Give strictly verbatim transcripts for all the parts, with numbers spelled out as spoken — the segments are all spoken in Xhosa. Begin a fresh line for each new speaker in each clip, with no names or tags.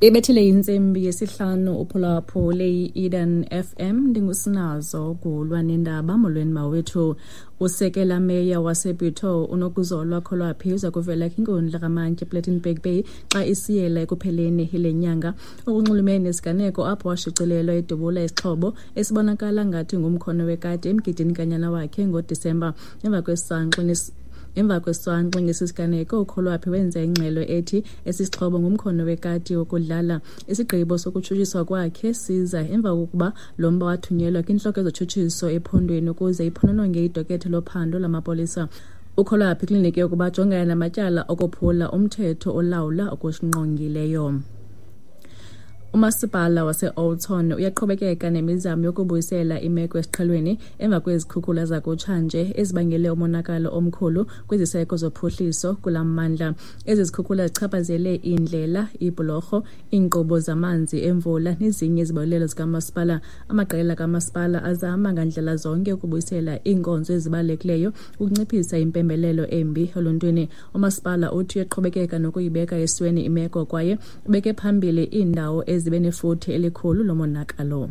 Ibethile intsimbi yesihlanu uphulaphule i-Eden F M. Ndingusinazo Gulwa nendaba. Molweni mawethu. Usekela meya waseBitou uNokuzolwa Kholwaphi uza kuvela kwinkundla kaMantyi ePlettenberg Bay xa isiyela ekupheleni le nyanga. Okunxulumene nesiganeko apho washicilelwa edubula isixhobo esibonakala ngathi ngumkhono wekati emgidini kanyana wakhe ngoDisemba. Emva kwesangxi Emva kwesangxi ngesi siganeko, uKholwaphi wenza ingxelo ethi esi sixhobo ngumkhono wekati wokudlala. Isigqibo sokutshutshiswa kwakhe siza emva kokuba lo mba wathunyelwa kwintloko yezotshutshiso ephondweni ukuze iphonononge idokethe lophando lamapolisa. UKholwaphi kliniki yokuba ajongane namatyala okophula umthetho olawula okusingqongileyo. Umasipala wase-Oudtshoorn uyaqhubekeka nemizamo yokubuyisela imeko esiqhelweni emva kwezikhukhula zakutshanje ezibangele umonakalo omkhulu kwiziseko zophuhliso kula mmandla. Ezi zikhukhula zichaphazele iindlela, iibhulorho, iinkqubo zamanzi emvula nezinye izibonelelo zikamasipala. Amaqela kamasipala azama ngandlela zonke ukubuyisela iinkonzo ezibalulekileyo ukunciphisa impembelelo embi eluntwini. Umasipala uthi uyaqhubekeka nokuyibeka esweni imeko kwaye ubeke phambili iindawo zibe nefuthe elikhulu lomonakalo.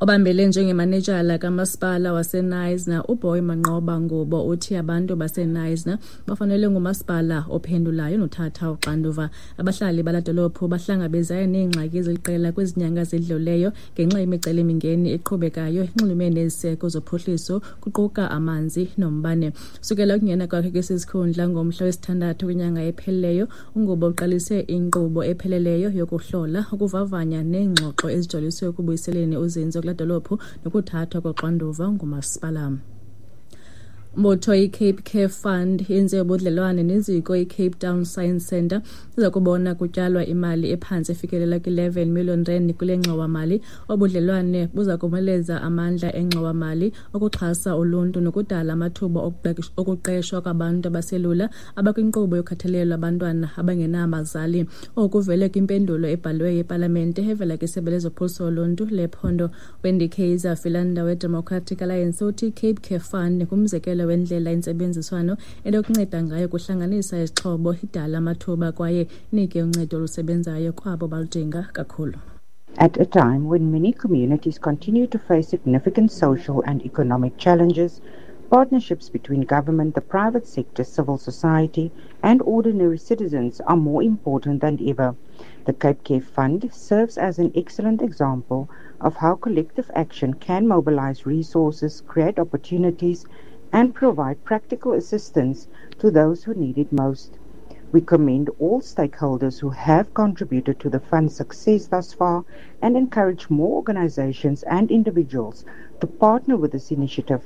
Obambele njengemanejala kamasipala waseKnysna uBoy Manqoba Ngubo uthi abantu baseKnysna bafanele ngumasipala ophendulayo nothatha uxanduva. Abahlali bala dolophu bahlangabezane neengxaki eziliqela kwezi nyanga zidluleyo ngenxa yemicelimingeni eqhubekayo enxulumene neziseko zophuhliso kuquka amanzi nombane. Sukela ukungena kwakhe kwesi sikhundla ngomhla wesithandathu kwinyanga ephelileyo, uNgubo uqalise inkqubo epheleleyo yokuhlola, ukuvavanya neengxoxo ezijoliswe ekubuyiseleni uzinzo kula dolophu nokuthathwa koxanduva ngumasipala. Umbutho iCape Care Fund yenze ubudlelwane neziko iCape Town Science Centre iza kubona kutyalwa imali ephantsi efikelela kwi-eleven million rand kule ngxowa-mali. Obudlelwane buza komeleza amandla engxowa-mali okuxhasa uluntu nokudala amathuba okuqeshwa kwabantu abaselula abakwinkqubo yokhathalelo abantwana abangenabazali. Oku kuvele kwimpendulo ebhalwe yepalamente evela kwisebe lezophuhliso loluntu lephondo. Wendy Kaiser Philander weDemocratic Alliance uthi iCape Care Fund ngumzekelo wendlela intsebenziswano enokunceda ngayo kuhlanganisa izixhobo, idala amathuba kwaye inike uncedo olusebenzayo kwabo baludinga kakhulu.
At a time when many communities continue to face significant social and economic challenges, partnerships between government, the private sector, civil society, and ordinary citizens are more important than ever. The Cape Care Fund serves as an excellent example of how collective action can mobilize resources, create opportunities, and provide practical assistance to those who need it most. We commend all stakeholders who have contributed to the fund's success thus far and encourage more organizations and individuals to partner with this initiative.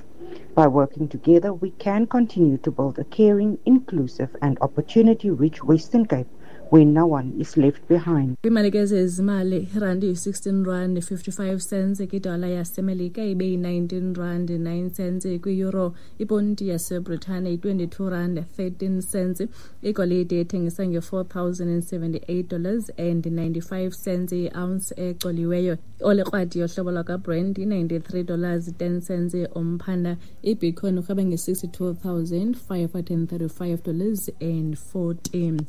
By working together, we can continue to build a caring, inclusive, and opportunity-rich Western Cape where no one is left behind.
Kwiimali zezimali, irandi yi-sixteen rand fifty-five cents kwidola yaseMelika ibe yi-nineteen rand nine cents kwi-euro. Iponti yaseBritane yi-twenty-two rand thirteen cents. Igolide ethengisa nge-four thousand and seventy-eight dollars and ninety-five cents i-ounce ecoliweyo. Olekrwadi yohlobo lwakwaBrent yi-ninety-three dollars ten cents umphanda. Ibitcoin urhweba nge-sixty-two thousand five hundred and thirty-five dollars and fourteen.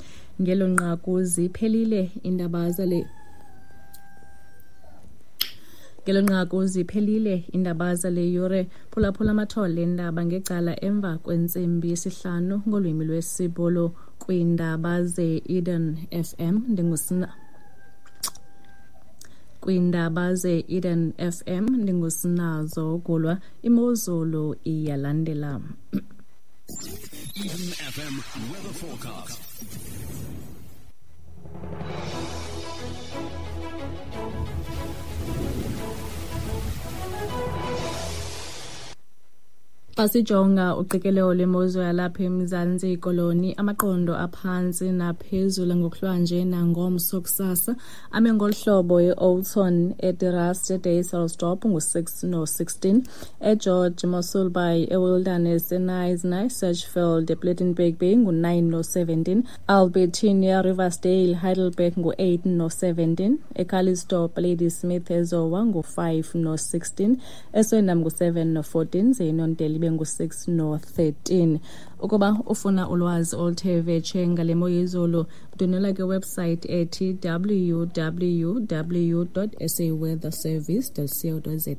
Ngelo nqaku ziphelile iindaba zale Ngelo nqaku ziphelile iindaba zale yure. Phulaphula amathole eendaba ngecala emva kwentsimbi yesihlanu ngolwimi lwesiBhulu kwiindaba ze-Eden F M. Ndingusina Kwiindaba ze-Eden F M ndingusinazo Gulwa. Imozulu iyalandela.
Eden F M weather forecast.
Xa sijonga uqikelelo lwemozulu yalapha eMzantsi Koloni, amaqondo aphantsi naphezulu ngokuhlwanje nangomso kusasa ame ngolu hlobo: eOudtshoorn, eDe-Rust, eDysselsdorp ngu-six no-sixteen, eGeorge Mossel Bay, eWilderness, eKnysna, eSedgefield, ePlettenberg Bay ngu-nine no-seventeen, Albertinia, Riversdale, Heidelberg ngu-eight no-seventeen, eCalitzdorp, Ladysmith, eZowa ngu-five no-sixteen, eSwellendam ngu-seven no-fourteen, zeNonteli ibe ngu-six no-thirteen. Ukuba ufuna ulwazi oluthe vetshe ngale mo yezulu, ndwendwela kwiwebsite ethi w w w dot s a weather service dot co dot za.